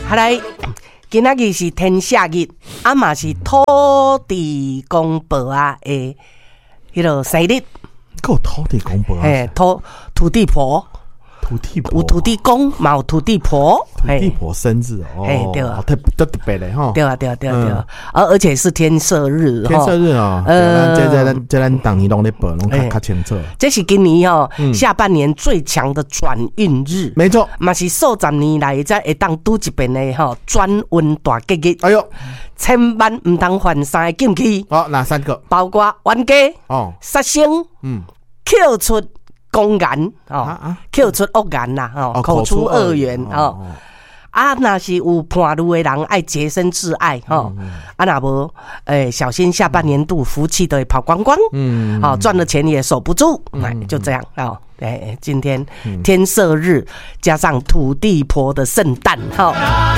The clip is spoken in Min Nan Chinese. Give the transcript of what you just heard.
好來，今仔日是天赦日，啊嘛是土地公婆仔的彼个生日。閣有土地公婆啊？嘿，土地婆。土地婆。有土地公，嘛有土地婆。土地婆生日哦。嘿，對啊。特特特別的吼。對啊，對啊，對啊，對啊，而且是天赦日。天赦日哦，這咱逐年攏咧報，攏較較清楚。這是今年吼下半年最強的轉運日。沒錯。嘛是數十年來才會當拄一遍的吼轉運大吉日。哎喲，千萬毋通犯三個禁忌。好，哪三個？包括冤家、殺生、口出狂言哦，口出惡言啦，吼，口出惡言哦。啊，若是有伴侶的人，愛潔身自愛吼。啊，若無，小心下半年度福氣都會跑光光。好，賺了錢也守不住。就這樣哦。今天天赦日加上土地婆的聖誕，吼。